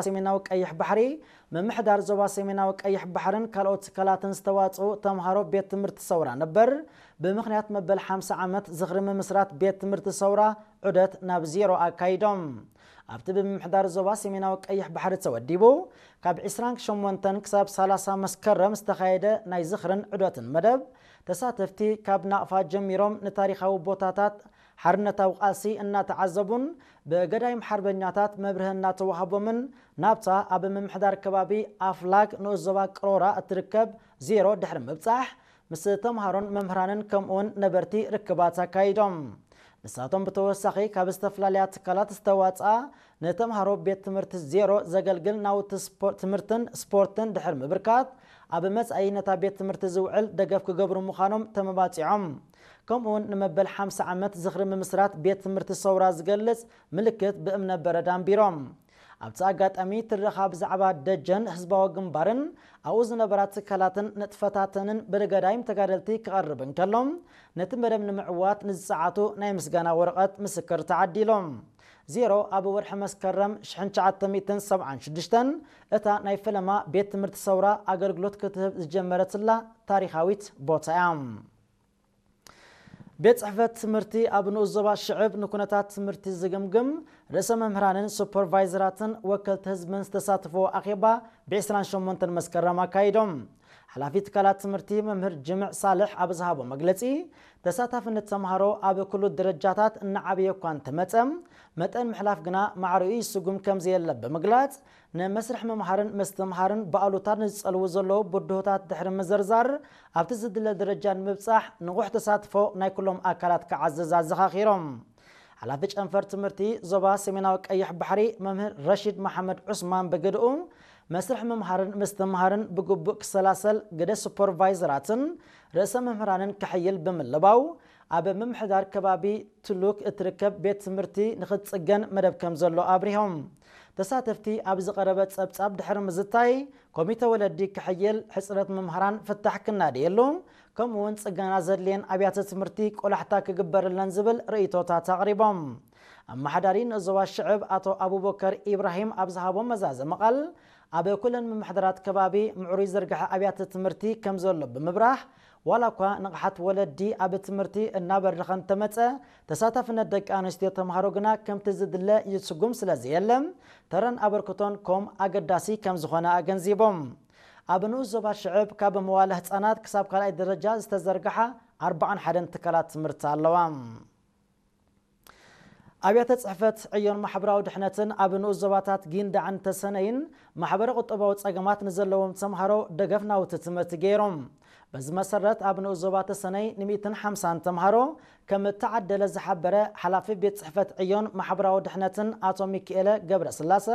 ሰሜናዊ ቀይሕ ባሕሪ፣ ምምሕዳር ዞባ ሰሜናዊ ቀይሕ ባሕርን ካልኦት ትካላትን ዝተዋጽኡ ተምሃሮ ቤት ትምህርቲ ሰውራ ነበር፣ ብምኽንያት መበል ሓምሳ ዓመት ዝኽሪ ምምስራት ቤት ትምህርቲ ሰውራ ዑደት ናብ ዜሮ ኣካይዶም። ኣብቲ ብምምሕዳር ዞባ ሰሜናዊ ቀይሕ ባሕሪ ተወዲቡ፣ ካብ ዕስራን ሸሞንተን ክሳብ ሰላሳ መስከረም ዝተኻየደ ናይ ዝኽርን ዑደትን መደብ፣ ተሳተፍቲ ካብ ናቕፋ ጀሚሮም ንታሪኻዊ ቦታታት ሓርነታዊ ቃልሲ እናተዓዘቡን ብገዳይም ሓርበኛታት መብርሂ እናተዋህቦምን ናብታ ኣብ ምምሕዳር ከባቢ ኣፍላግ ንኡስ ዞባ ቅሮራ እትርከብ ዜሮ ድሕሪ ምብጻሕ፣ ምስ ተምሃሮን መምህራንን ከምኡውን ነበርቲ ርክባት ኣካይዶም። ንሳቶም ብተወሳኺ ካብ ዝተፈላለያ ትካላት ዝተዋፅኣ ንተምሃሮ ቤት ትምህርቲ ዜሮ ዘገልግል ናውቲ ስፖ- ትምህርትን ስፖርትን ድሕሪ ምብርካት፣ ኣብ መጻኢ ነታ ቤት ትምህርቲ ዝውዕል ደገፍ ክገብሩ ምዃኖም ተመባጺዖም። ከምኡውን ንመበል ሓምሳ ዓመት ዝኽሪ ምምስራት ቤት ትምህርቲ ሰውራ ዝገልጽ ምልክት ብእምነ በረድ ኣንቢሮም። ኣብቲ ኣጋጣሚ ትረኻ ብዛዕባ ደጀን ህዝባዊ ግንባርን ኣብኡ ዝነበራ ትካላትን ንጥፈታተንን ብገዳይም ተጋደልቲ ክቐርብ እንከሎ፣ ነቲ መደብ ንምዕዋት ንዝጸዓቱ ናይ ምስጋና ወረቐት ምስክር ተዓዲሎም። ዜሮ ኣብ ወርሒ መስከረም ሽሕን ትሽዓተ ሚእትን ሰብዓን ሽዱሽተን እታ ናይ ፈለማ ቤት ትምህርቲ ሰውራ ኣገልግሎት ክትህብ ዝጀመረትላ ታሪኻዊት ቦታ እያ። ቤት ጽሕፈት ትምህርቲ ኣብ ንኡስ ዞባ ሽዕብ ንኩነታት ትምህርቲ ዝግምግም ርእሰ መምህራንን ሱፐርቫይዘራትን ወከልቲ ህዝብን ዝተሳተፍዎ ኣኼባ ብ ዕስራን ሸሞንተን መስከረም ኣካይዶም። ሓላፊ ትካላት ትምህርቲ መምህር ጅምዕ ሳልሕ ኣብ ዝሃቦ መግለጺ፣ ተሳታፍነት ተምሃሮ ኣብ ኩሉ ደረጃታት እናዓበየ እኳ እንተመጸ፣ መጠን ምሕላፍ ግና ማዕሪኡ ይስጉም ከም ዘየለ ብምግላጽ፣ ንመስርሕ ምምሃርን ምስትምሃርን ብኣሉታ ንዝጸልዉ ዘለዉ ብድሆታት ድሕሪ ምዝርዛር፣ ኣብቲ ዝድለ ደረጃ ንምብጻሕ ንቑሕ ተሳትፎ ናይ ኩሎም ኣካላት ክዓዝዝ ኣዘኻኺሮም። ሓላፊ ጨንፈር ትምህርቲ ዞባ ሰሜናዊ ቀይሕ ባሕሪ መምህር ረሺድ መሓመድ ዑስማን ብግድኡ፣ መስርሕ ምምሃርን ምስትምሃርን ብግቡእ ክሰላሰል ግደ ሱፐርቫይዘራትን ርእሰ መምህራንን ክሕይል ብምልባው፣ ኣብ ምምሕዳር ከባቢ ትሉክ እትርከብ ቤት ትምህርቲ ንኽትጽገን መደብ ከም ዘሎ ኣብሪሆም። ተሳተፍቲ ኣብ ዝቐረበ ጸብጻብ ድሕሪ ምዝታይ፣ ኮሚተ ወለዲ ክሕይል፣ ሕጽረት መምህራን ፍታሕ ክናደየሉ፣ ከምኡውን ጽገና ዘድልየን ኣብያተ ትምህርቲ ቆላሕታ ክግበረለን ዝብል ርእይቶታት ኣቕሪቦም። ኣመሓዳሪ ንዞባ ሽዕብ ኣቶ ኣቡበከር ኢብራሂም ኣብ ዝሃቦ መዛዘሚ ቃል፣ ኣብ ኩለን ምምሕዳራት ከባቢ ምዕሩይ ዝርግሐ ኣብያተ ትምህርቲ ከም ዘሎ ብምብራህ፣ ዋላ እኳ ንቕሓት ወለዲ ኣብ ትምህርቲ እናበረኸ እንተመጸ፣ ተሳታፍነት ደቂ ኣንስትዮ ተምሃሮ ግና ከምቲ ዝድለ ይስጉም ስለ ዘየለ፣ ተረን ኣበርክቶን ኮም ኣገዳሲ ከም ዝኾነ ኣገንዚቦም። ኣብ ንኡስ ዞባ ሽዕብ ካብ መዋለ ህጻናት ክሳብ ካልኣይ ደረጃ ዝተዘርግሓ ኣርባዓን ሓደን ትካላት ትምህርቲ ኣለዋ። ኣብያተ ጽሕፈት ዕዮን ማሕበራዊ ድሕነትን ኣብ ንኡስ ዞባታት ጊንዳዕን ተሰነይን ማሕበረ ቁጠባዊ ጸገማት ንዘለዎም ተምሃሮ ደገፍ ናውቲ ትምህርቲ ገይሮም። በዚ መሰረት ኣብ ንኡስ ዞባ ተሰነይ ን ሚእትን ሓምሳን ተምሃሮ ከም እተዓደለ ዝሓበረ ሓላፊ ቤት ጽሕፈት ዕዮን ማሕበራዊ ድሕነትን ኣቶ ሚካኤለ ገብረስላሰ፣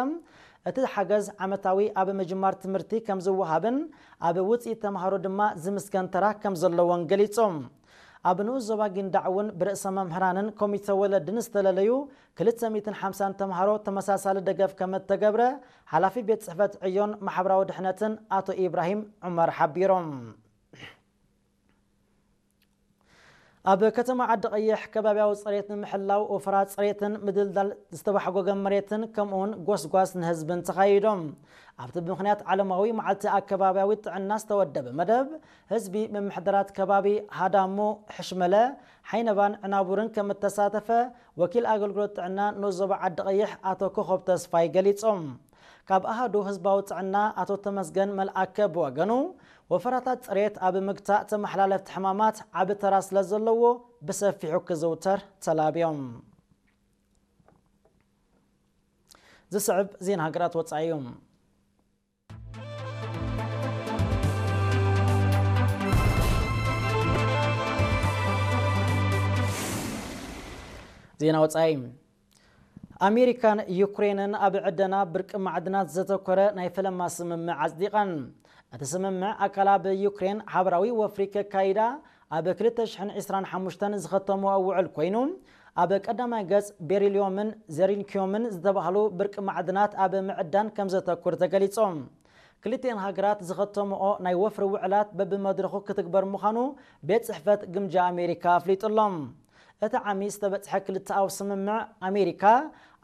እቲ ሓገዝ ዓመታዊ ኣብ ምጅማር ትምህርቲ ከም ዝወሃብን ኣብ ውጽኢት ተምሃሮ ድማ ዝምስገን ተራ ከም ዘለዎን ገሊጹ። ኣብ ንኡስ ዞባ ጊንዳዕ እውን ብርእሰ መምህራንን ኮሚተ ወለድን ዝተለለዩ ክልተ ሚእትን ሓምሳን ተምሃሮ ተመሳሳሊ ደገፍ ከም እተገብረ ሓላፊ ቤት ጽሕፈት ዕዮን ማሕበራዊ ድሕነትን ኣቶ ኢብራሂም ዑመር ሓቢሮም። ኣብ ከተማ ዓዲ ቀይሕ ከባቢያዊ ጽሬት ንምሕላው ወፈራ ጽሬትን ምድልዳል ዝተባሕጎገ መሬትን ከምኡውን ጎስጓስ ንህዝብን ተኻይዶም። ኣብቲ ብምኽንያት ዓለማዊ መዓልቲ ኣከባቢያዊ ጥዕና ዝተወደበ መደብ፣ ህዝቢ ምምሕዳራት ከባቢ ሃዳሞ፣ ሕሽመለ፣ ሓይነባን ዕናቡርን ከም እተሳተፈ ወኪል ኣገልግሎት ጥዕና ንኡስ ዞባ ዓዲ ቀይሕ ኣቶ ኮኾብ ተስፋይ ገሊጾም። ካብ ኣሃዱ ህዝባዊ ጥዕና ኣቶ ተመስገን መልኣከ ብወገኑ፣ ወፈራታት ጽሬት ኣብ ምግታእ ተመሓላለፍቲ ሕማማት ዓቢ ተራ ስለ ዘለዎ ብሰፊሑ ክዝውተር ተላብዮም። ዝስዕብ ዜና ሃገራት ወጻኢ እዩ። ዜና ወጻኢ። ኣሜሪካን ዩክሬንን ኣብ ዕደና ብርቂ ማዕድናት ዘተኮረ ናይ ፈለማ ስምምዕ ኣጽዲቐን። እቲ ስምምዕ ኣካል ኣብ ዩክሬን ሓበራዊ ወፍሪ ከካይዳ ኣብ ክልተ ሽሕን ዕስራን ሓሙሽተን ዝኸተምኦ ውዕል ኮይኑ፣ ኣብ ቀዳማይ ገጽ ቤሪልዮምን ዜሪንኪዮምን ዝተባህሉ ብርቂ ማዕድናት ኣብ ምዕዳን ከም ዘተኩር ተገሊጾም። ክልቲኤን ሃገራት ዝኸተምኦ ናይ ወፍሪ ውዕላት በብመድረኹ ክትግበር ምዃኑ ቤት ጽሕፈት ግምጃ ኣሜሪካ ኣፍሊጡሎም። እቲ ዓሚ ዝተበጽሐ ክልተኣዊ ስምምዕ ኣሜሪካ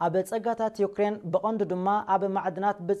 ኣብ ጸጋታት ዩክሬን ብቐንዱ ድማ ኣብ ማዕድናት